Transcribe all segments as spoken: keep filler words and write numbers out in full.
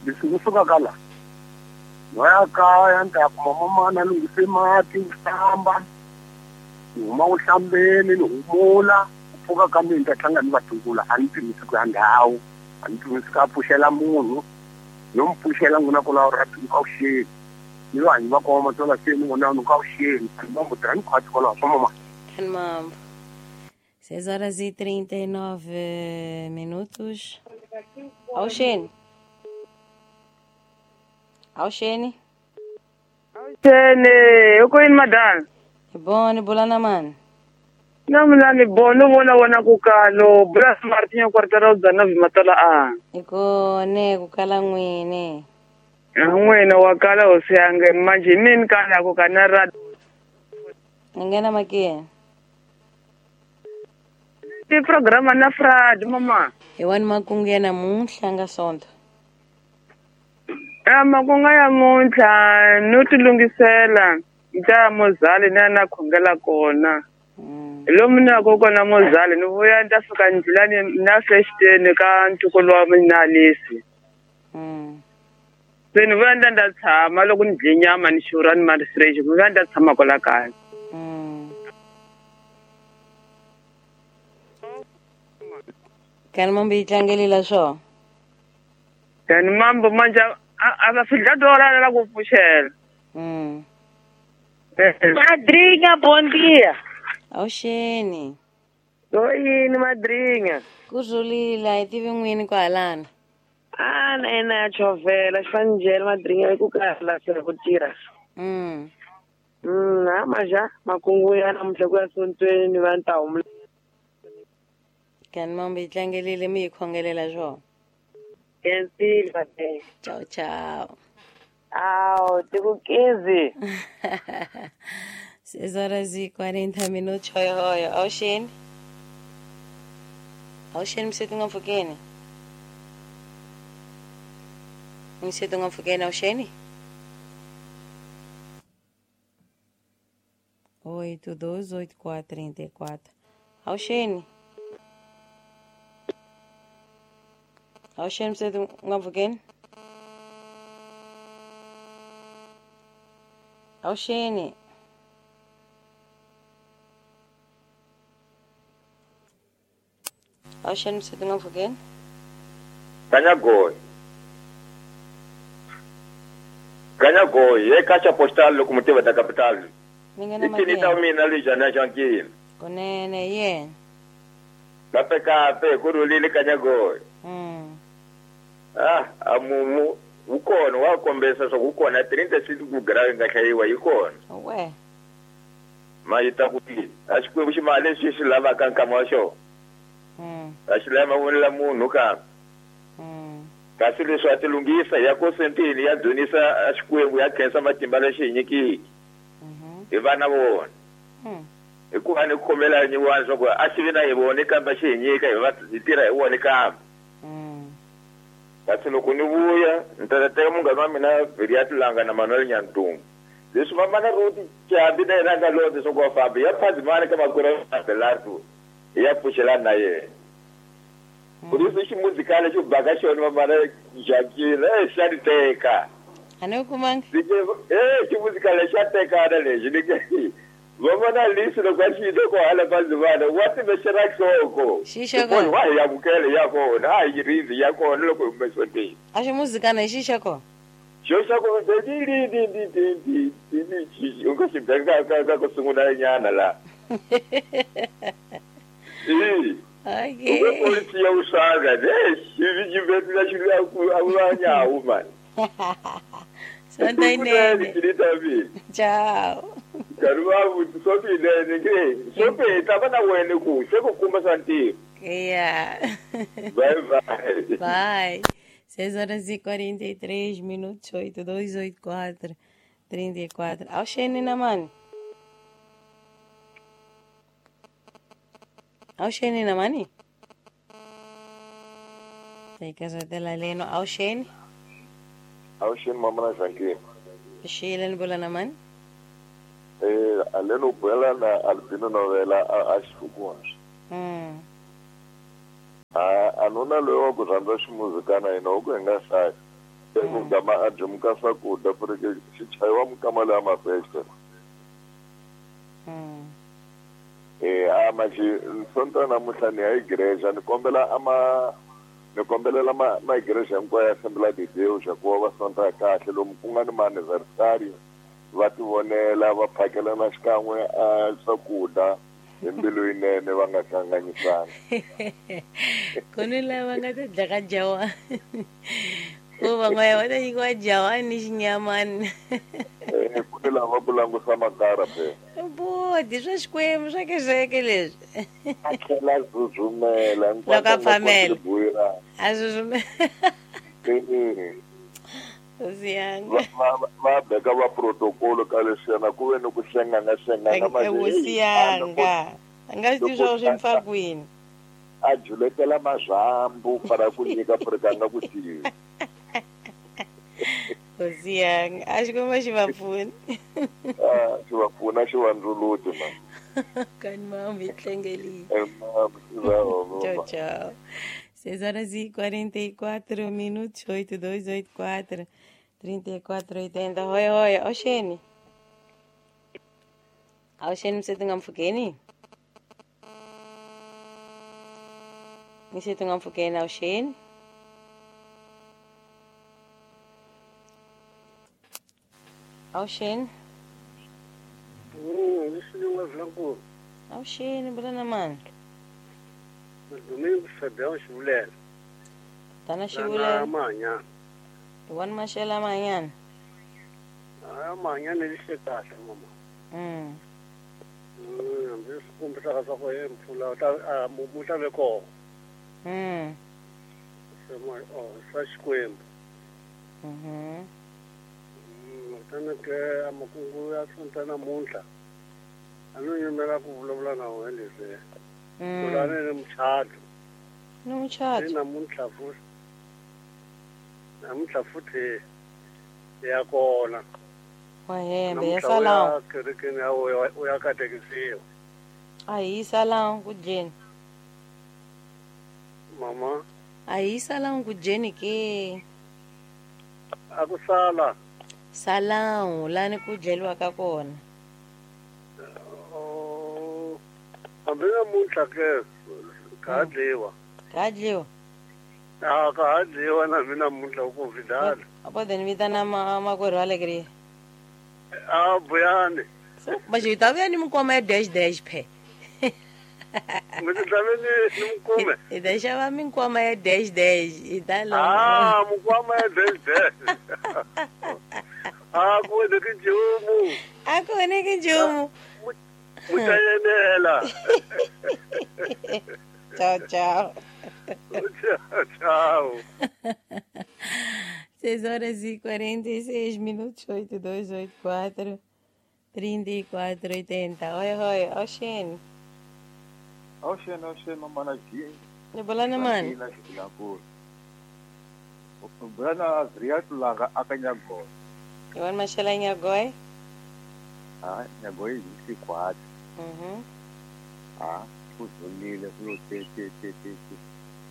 Leswi ni sukaka la no ya kaya ni ta ya kuma mamana lunghise mati ku hlamba ni huma ku hlambeni ni humula ku pfuka ka mina ni ta tlanga ni vatukulu a ni pimisi ku ya ndhawu a ni pimisi ka pfuxela munhu no mi pfuxela n'wina kwalaho ra avuxeni ni vanhu va koma tola se ni vona ni ku avuxeni a ni mambo tirha ni khwatsi kwalaho swa mama. Mambo. seis horas e trinta e nove minutos. Avuxeni. Avuxeni. Avuxeni, uko yini madam? Boni bulana mani. Na mina ni boni vona vona ku kalo bula Martin kwartara dzana vimatala a. Ikone ku kala n'wini. N'wina wa kala hosi yange manje mini kala ku kana ra. Ni nghena makini. Ti programa na Frad mama. Hi wani makungu ya namuntlha nga Sonto. Ya makungu ya muntlha no ti lunghisela nta mozali na na khongela kona. Lomu ni yaka kona mozali ni vuya ni ta fika ndlulani na fexiteni ka ntukulu wa mina Alisi. Se ni vuya ni ta ni ta tshama loko ni dye nyama ni xurha ni mari fresh ni vuya ni ta tshama kwala kaya. Kani mambo yi tlangelela swo? Kani mambo manje a va fidla dora la ku pfuxela. Mm. Madrinha, bom dia. Avuxeni. Yini madrinha? Ku rhulile, hi tivi n'wini kwahalana. A na yena ya chovela xifanjhela madrinha ku kala se ku tirha. Mm. Mm, ha maja makungu ya namuntlha ku ya sontweni ni va ni ta humula. Kani mambo yi tlangelile mi hi khongelela swona. Kensile madrinha. Ciao ciao. Aw, tiku quinze. seis horas e quarenta minutos. Hoi hoi. Avuxeni. Avuxeni msetu nga mpfhukeni. Msetu nga mpfhukeni avuxeni. oito dois oito quatro trinta e quatro. Avuxeni. Avuxeni msetu nga mpfhukeni. Avuxeni. Avuxeni msetu nga mpfhukeni. Kanyagoy. Kanyagoy, e caixa postal loko mutiva ta capital. Ni nghena Ikini ta mina lijana jankini. Kunene yena. Kape kape ku rhulile Kanyagoy. Mm. Ah, amumu wu kona wa kombesa swa ku kona trinta six ku grave nga hlayiwa yi kona. We. Ma yi ta ku a Xikwembu xi mali leswi xi lavaka nkama wa xona. Mm. A xi lava mavonelo munhu kambe. Mm. Kasi leswi a ti lunghisa ya kosentini ya dzunisa Xikwembu ya khensa matimba lexi hi nyikiki. Mhm. Hi vana vona. Mm. Hikuva ni khomela nyiwani swa ku a xi vi na hi vone kambe xi hi nyika hi va hi tirha hi wona kambe. Mm. Kasi loko ni vuya ni ta teka munghana wa mina Viriat Langa na Manuel Nyantungu. Leswi mamana Ruti Chambi na yena nga londza swa ku va fambi ya phazimana ka makwerhu wa Belardo hi ya pfuxelana na yena. Ku ri ximuzikali xo baka xona mamana Jacqueline eh xa ni teka. A ni kumanga. Eh ximuzikali xa tekana lexi ni ke vavona lisi loko a xi twa ko hala phazimana wa timexela nhloko. Xi xa kona. Wa hi amukela ya kona a hi rindzi ya kona loko hi hume sonteni. A ximuzikana hi xi xa kona. Xo xa kona di di di di di di di di u nga xi beka ka ka ku sungula nyana la. Eh. Okay. U polisi ya usaga ne xi xi vetla xi la ku a va nyawu man. Sonto yinene. Ciao. Karuva sopi nene ke sopi ta va na wena ku se ku kumba swa ntirho. Yeah. Bye bye. Bye. seis horas e quarenta e três minutos, oito dois oito quatro trinta e quatro. Avuxeni na mani. Avuxeni na mani. Teka zotela leno avuxeni. Avuxeni mama na Jacqueline. Xile ni bula na mani. Eh, aleno buela na Albino novela a a xifukuwa. Mm. A anuna loyi wa ku rhandza ximuzikana yena u ku hi nga hlayi. Ku gama a dyimuka swakudya ku ri ke xi chayiwa mukama leya mafesta. Eh a manje sonto namuntlha ni ya igreja ni kombela ama ni kombelela ma ma igreja hinkwayo ya Assembly de Deus ku va va sonta kahle lomu ku nga ni ma anniversary va tivonela va phakelana xikan'we a swakudya hi mbilu yinene va nga hlanganyisani. Ku ni lava nga ta dlaka jawa. Ku van'wana va ta nyikiwa jawa ni xinyamani. Eh ku ni lava ku langusa makara phela. Bodi swa Xikwembu swa kereke leswi. A tlhela a zuzumela Loko a phamela. A zuzumela. Hosi yanga. Va va beka va protocol ka leswiyana ku ve ni ku hlengana hlengana Hosi yanga. A nga swi tivi swa ku swi mpfa kwini. A juletela mazambu para ku nyika purika nga ku tivi. Hosi yanga. A Xikwembu xi va pfuni. Ah, xi va pfuna xi va ndzuluti ma. Kani mama hi tlengelile. Eh mama, Tchau, tchau. seis horas e quarenta e quatro minutos, oito, dois, oito, quatro, trinta e quatro, oitenta. Oi, oi, Oxene. Oxene, você tem um foguene? Você tem um foguene, Oxene? Oxene? Hum, isso não é blanco. Oxene, Bruna, mano. Domingo Fabião Chibulele. Tá na Chibulele. Amanhã. Igual machela amanhã. Amanhã ele chega, mamãe. Hum. Hum, isso como tá só com ele, pula, tá, muita leco. Hum. Ó, só Xikwembu. Uhum. Hum, tana ke amakungu ya sonta namuntlha. A no yimela ku vulavula na wena leswi. Kulane ni muchato. Ni muchato. Ni namuntlha futhi. Namuntlha futhi ya kona. Wa hembe ya sala. Kerekeni ya u ya katekisiwa. A hi sala ku dyeni. Mama. A hi sala ku dyeni ke. A ku sala. Salão lani ku dleliwaka kona. Hambi namuntlha ke ka ha dliwa. Ka ha dliwa? A ka ha dliwa na mina namuntlha ku vidala. A po ni vitana makwerhu wa le A buyani. So manje hi ta vuya ni mikwama ya dash dash phe. Mi ta ve ni ni mikume. Hi ta xava minkwama ya dash dash hi ta lomba. Ah, mikwama ya dash dash. A ku onheki nchumu. A ku onheki nchumu. Mutayenela. Tchau, tchau. Tchau, tchau. seis horas e quarenta e seis minutos, oito, dois, oito, quatro, trinta e quatro, oitenta. Oi, oi, Oxene. Oxene, Oxene, mamana G. Bolana, mano. Bolana, Zriatu laga akanyagoi. Iwan machela nyagoi? Ah, nyagoi vinte e quatro. Uhum. Ah, kuzolile kulo te te te te te.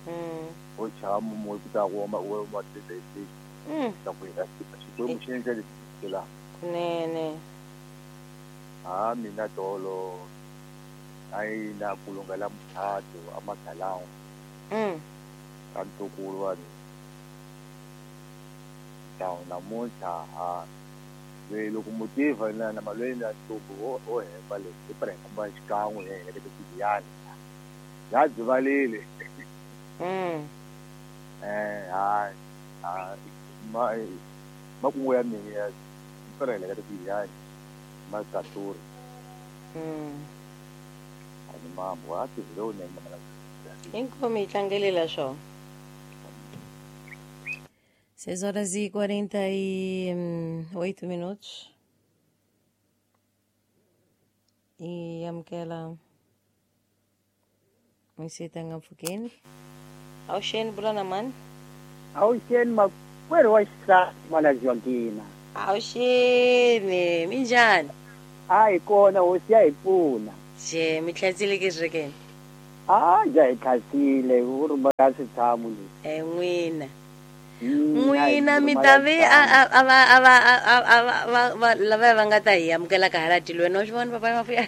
Hum. O chamo muito da Roma, o uma te te te. Hum. Tá com isso. Xikwembu xi endla leswi la. Kunene. Ah, mina tolo. Ai na kulunga la muchato amagalão. Hum. Kantukulu wa mina. Então, namuntlha ha loyi loko mutiva na na malweni ya ntuku wo o hemba leswi i prehemba xikan'we hi helekete xibiyani ya dzivalile. Mm. Eh ha ha ma makungu ya mina ya prehekete xibiyani ma katuri. Mm. Ani mambo a ti vile unene mana. Inkomi yi tlangelela swona. seis horas e quarenta e oito minutos. E amukela misitanga mpfhukeni. Awuxeni bulana mani. Awuxeni makwerhu wa xisati mana Joaquina. Awuxeni minjhani? A hi kona hosi ya hi pfuna. Je mi tlhatsile ke swi A ja hi tlhatsile u ri mara switshamo leswi. E n'wina. N'wina mi ta ve a a va a va a va va lava va nga ta hi amukela ka hala tilweni wa swi vona papa mafuya.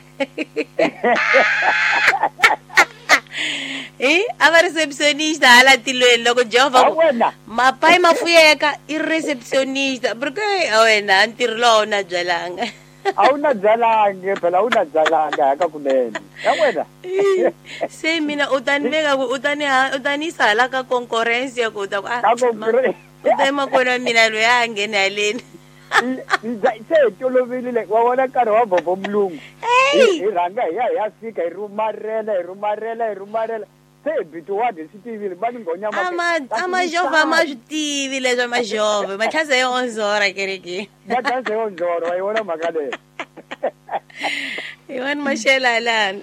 Eh, a va receptionista hala tilweni loko Jehovha ku mapai mafuyeka i receptionista porque a wena ntirho lowu na byalanga. A wu na byalangi phela a wu na byalanga haka kunene ya wena. Se mina u ta ni veka ku u ta ni u ta ni yisa hala ka conference ya ku ta ku a u ta makwenu wa mina loyi a ngheni haleni. Se hi toloverile wa vona nkarhi wa vovo mulungu hi rhanga hi ya hi ya fika hi rhumarela hi rhumarela hi rhumarela se hi bitiwadi swi tivile va ni nghonyama a majovha ma swi tivi leswa majovha matlhasa yo onzora kerekeni matlhasa yo onzora wa yi vona mhaka leyo hi vani maxela lani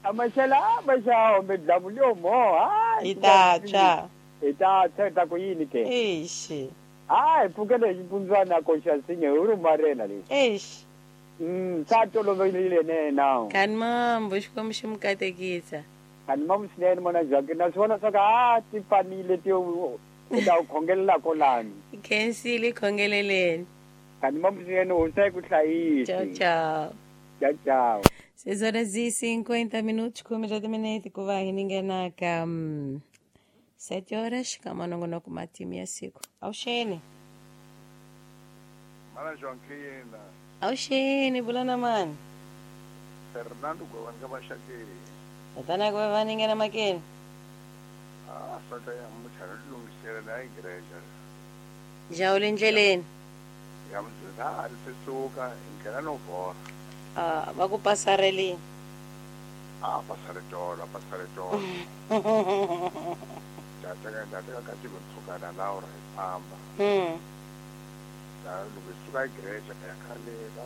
a maxela a maxawo midlamu leyo mo hi ta tshwa hi ta tshwa hi ta ku yini ke exi hayi pfukele hi ximpundzwana koxa nsinya hi rhumarela leyi exi mm sa tolovelile nena kani mambo xikwembu xi mi katekisa kani mambo swinene mona Jacques na swi vona swa ka a ti fanile ti u ta u khongelela kolani khensile khongeleleni kani mambo swinene hosi yi ku hlayisa. Ciao ciao. Ciao ciao. seis horas e cinquenta minutos khume ra timinete ku va hi ninghena ka um, sete horas ka manongonoko matimu ya siku. Awuxeni. Mana Joaquina. Awuxeni bulana mani. Fernando Gwewanga Mashakeni. Tatana Gwewanga ninghena makeni. Ah, sota ya muchana lungisela na igreja. Jawule endleleni. Ya mzina alisuka ingena no vora. Ah, va ku pasarelini. Ah, pasare tolo, pasare tolo. Tataka tataka kati kusuka na Laura ifamba. Mm. Ta loko suka igreja ya khale ka